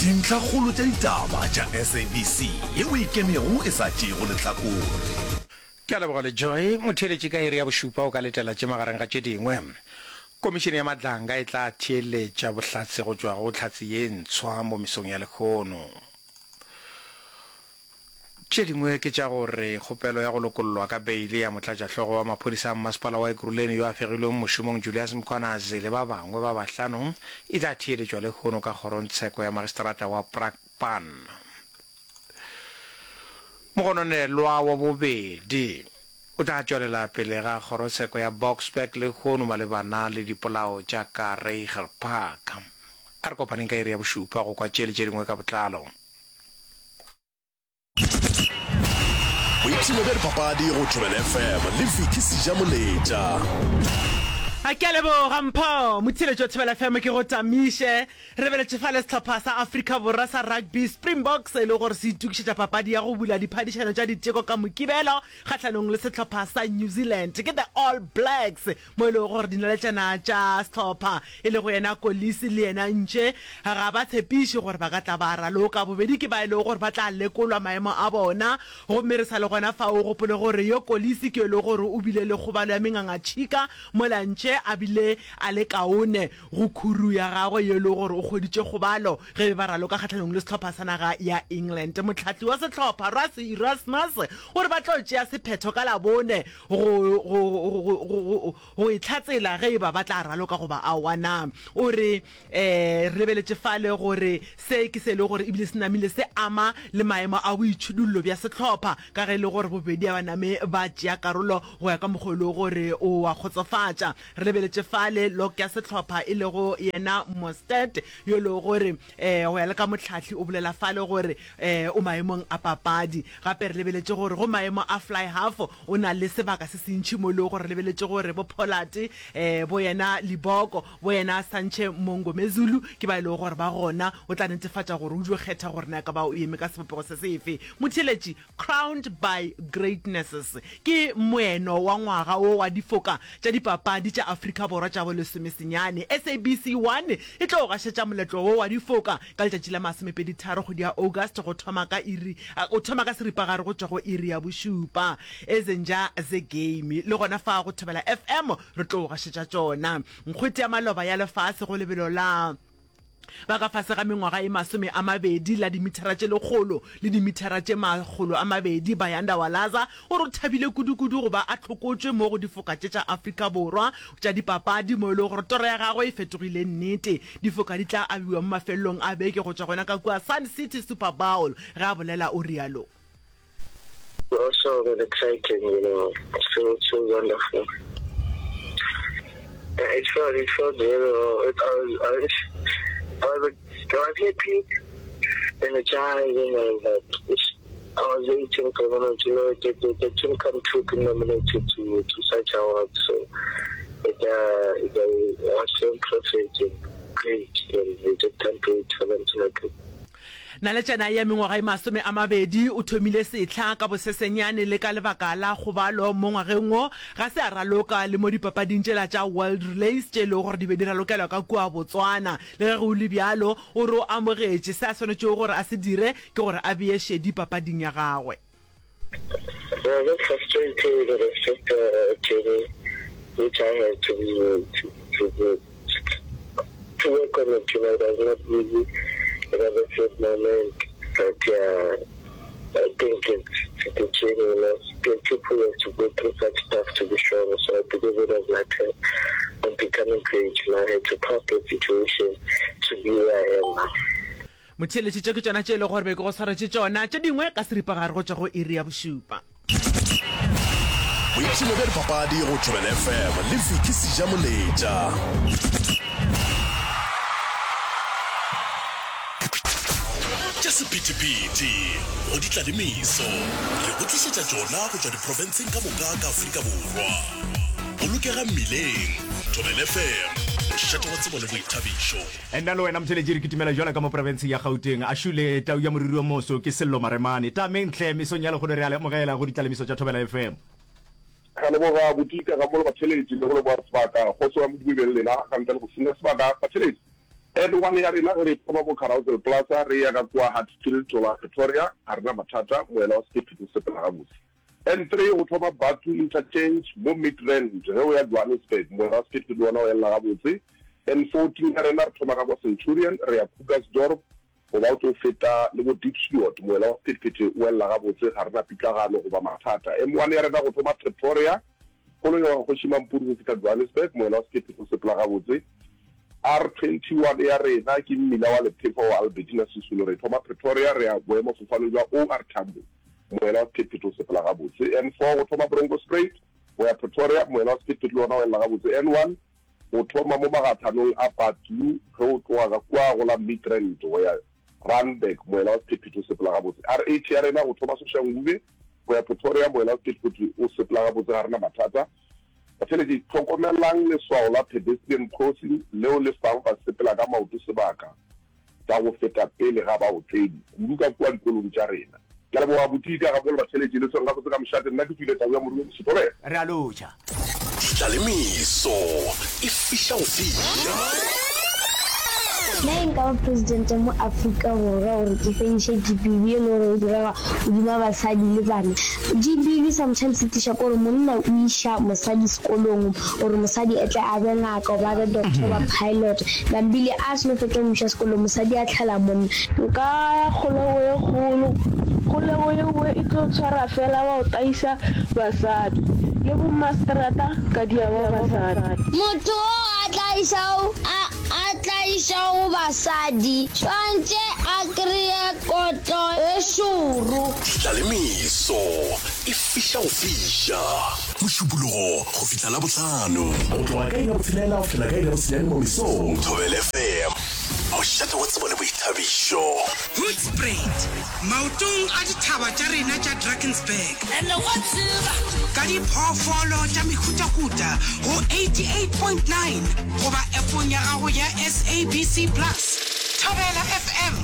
Dintlhakgolo tša ditaba tša SABC yeo e ikemego e sa tšeego lehlakore. Ke a leboga Lejoe. Motheeletši ka iri ya bošupa o ka letela tše magareng ga tše dingwe. Komišene ya Madlanga e tla theeletša bohlatse go tšwa go hlatse ye ntshwa mo mesong ya lehono. Tše dingwe ke tša gore kgopelo ya go lokollwa ka beile ya motlatšahlogo wa maphodisa a mmasepala wa Ekurhuleni yo a fegilweng mošomong Julius Mkhwanazi le ba bangwe ba bahlano e tla theeletšwa lehono ka kgorongtsheko ya magistrata wa Brakpan. Mogononelwa wa bobedi o tla tšwelela pele ga kgorotsheko ya Boksburg lehono malebana le dipolao tša ka Reiger Park. A re kopaneng ka iri ya bošupa go kwa tše le tše dingwe ka botlalo. Boipshino bja dipapadi go Thobela FM le Vicky Sejamoletša. A ke a leboga Mpho. Motheeletši wa Thobela FM ke go tamiše. Re beletše fale sehlopha sa Afrika Borwa sa rugby Springboks e le gore se itokišetša papadi ya go bula diphadišano tša diteko ka Mokibelo kgahlanong le sehlopha sa New Zealand ke The All Blacks. Mo e lego gore dinaletšana tša sehlopha, e lego yena Kolisi le yena Ntše, ga ba tshepiše gore ba ka tla ba raloka. Bobedi ke ba e lego gore ba tla lekolwa maemo a bona. Gomme re sa le gona fao, o gopole gore yo Kolisi ke yo e lego gore o bile le kgobalo ya mengangatšhika, mola Ntše a bile a le kaone go khuru ya gagwe yo e lego gore o hweditše kgobalo ge be ba raloka kgahlanong le sehlopha sa naga ya England. Mohlahli wa sehlopha, Rassie Erasmus, o re ba tlo tšea sephetho ka Labone go, go, go, go, go, go itlhatsela ge e ba ba tla raloka goba aowa. Na o re, Ee, re lebeletše fale gore se ke se e lego gore ebile se namile se ama le maemo a boitšhidullo bja sehlopha, ka ge e le gore bobedi a ba name ba tšea karolo go ya ka mokgwa o e lego gore o a kgotsofatša. Re lebeletše fale log ya sehlopha e lego yena Mostert yo e lego gore um go ya le ka mohlahli o bolela fale gore um o maemong a papadi. Gape re lebeletše gore go maemo a fly half o na le sebaka se sentši mo e lego gore re lebeletše gore bo Pollard, um bo yena Liboko, bo yena Sanche Mongomezulu ke ba e lego gore ba gona. O tla netefatša gore o dio kgetha gore na e ka ba o eme ka sebopego se sefe. Motheeletši, Crowned by Greatness ke moeno wa ngwaga wo wa difoka tša dipapadi tša Afrika Borwa tša bolesomesenyane. SABC 1 e tlo gašetša moletlo wo wa difoka ka letšatši la masomepeditharo kgwedi ya August go thoma ka iri go thoma ka seripagare go tšwa go iri ya bošupa. Ezenja ze game le gona fa go Thobela FM re tlo gašetša tšona. Nkgwete ya maloba ya lefase go lebelo la ba ka fase ga mengwaga e 20 la dimithara tše lekgolo le dimithara tše 200, Bayanda Walaza o re o thabile kudukudu go ba a hlokotšwe mo go difoka tše tša Afrika Borwa tša dipapadi mo e lego gore toro ya gagwe e fetogile nnete. Difoka di tla abiwa mo mafelelong a beke go tšwa gona ka kua Sun City Super Bowl, ge a bolela o realo. Also really exciting, you know, it feels so wonderful. It felt, it felt very well. It, I was, I was, I was, I was happy, energized, and I was like, it's, I was waiting for them to know the, the, the team come true being nominated to, to such awards. So it, uh, it, uh, was so impressive and great, and we just can't wait for them to make it. Naletšana ya mengwaga e 20 o thomile sehla ka bosesenyane le ka lebaka la kgobalo mo ngwageng wo, ga se a raloka le mo dipapading tšela tša World Relays tše e lego gore di be di ralokelwa ka kua Botswana. Le ge go le bjalo, o re o amogetše se a swanetšego gore a se dire ke gore a bee šedi papading ya gagwe. Well, that's frustrating, but it's just a journey which I had to be, to, to, to work on it, you know, it was not easy. It was a sad moment, but yeah, I think it's, it's the journey, you know, people have to go through such stuff to be strong, so I believe it was my turn on becoming great, you know, I had to pass that situation to be where I am now. Motheeletši, tše ke tšona tše e lego gore be ke go swaretše tšona, tše dingwe ka seripagare go tšwa go iri ya bošupa. Boipshino bja dipapadi go Thobela FM le Vicky Sejamoletša. Tša sephethephethe go ditlalemeso re go tlišetša tšona go tšwa diprofenseng ka moka ka Afrika Borwa. Bolokega mmileng, Thobela FM, mošate wa tsebo le boithabišo. Nna le wena motheletši re kitimela jwalo ka mo profenseng ya Gauteng. A šule tau ya moriri o moso ke Sello Maremane. Tameng hle mesong ya lehono re a le amogela go ditlalemiso tša Thobela FM. Re a leboga Bodika gammogo le batheletši le go leboga sebaka. Kgotso ya Modimo e be le lena. Ga ntle le go senya sebaka, batheletši. N1 ya rena ge re thoma mo Carousel Plaza re eya ka kua Hatfield goba Pretoria ga re na mathata, moela wa sephethephethe o sepela gabotse. N3 go thoma Bathu Interchange mo Midrand ge o ya Johannesburg, moela wa sephethephethe le wona o elela gabotse. N14 ya rena re thoma ka kwa Centurion re ya Krugersdorp goba o tlo feta le bo Diepsloot, moela wa sephethephethe o elela gabotse, ga re na pitlagano goba mathata. M1 ya rena go thoma Pretoria Koloi ya Kgoši Mampuru go fihla Johannesburg, moela wa sephethephethe o sepela gabotse. R21 ya rena ke mmila wa lephefo wa Albertina Sisulu, re thoma Pretoria re ya boemafofaneng bja OR Tambo, moela wa sephethephethe o sepela gabotse. N4 go thoma Bronkhorstspruit go ya Pretoria, moela wa sephethephethe le wona o elela gabotse. N1 go thoma mo magathanong a Patlu ge o tloga ka kua go la Midrand go ya Randburg, moela wa sephethephethe o sepela gabotse. R8 ya rena go thoma Soshanguve go ya Pretoria, moela wa sephethephethe o sepela gabotse, ga re na mathata. Batheeletši, hlokomelang leswao la pedestrian crossing leo le fago basepela ka maoto sebaka sa go feta pele ga baotledi, kudu ka kua dikolong tša rena. Ke a leboga Botika gabolo batheeletši, le tshwere gabotse ka mošate. Nna ke tšwile tau ya Morue Mosotho. Re a lotšha. Ditlalemeso e fiša go fiša. Nna e nka ba presidente mo Afrika Borwa gore ke fediše GBV e le gore e direga godima basadi le bana. GBV sometimes e tliša ke gore monna o iša mosadi sekolong gore mosadi e tle a be ngaka goba a be doctor goba pilot. Nambile a seno fetša go mo iša sekolong mosadi a tlhala monna. Nka ya kgolego ye kgolo. Kgolego yeo e tlo tshwara fela bao taisa basadi, le bommaseterata ka diaba basadi. Motho o a tlaišago a a tlaišago basadi swantše a kreye kotlo e šoro. Ditlalemeso e fiša go fiša. Mošupologo go fihla Labohlano. Go tloga ka iri ya botshelela go fihlela ka iri ya bosenyane mo mesong. Thobela FM, mošate wa tsebo le boithabišo. Hoedspruit, maotong a dithaba tša rena tša Drakensberg. Ka diphoofolo tša mehutahuta go 88.9 goba appong ya gago ya SABC Plus. Thobela FM.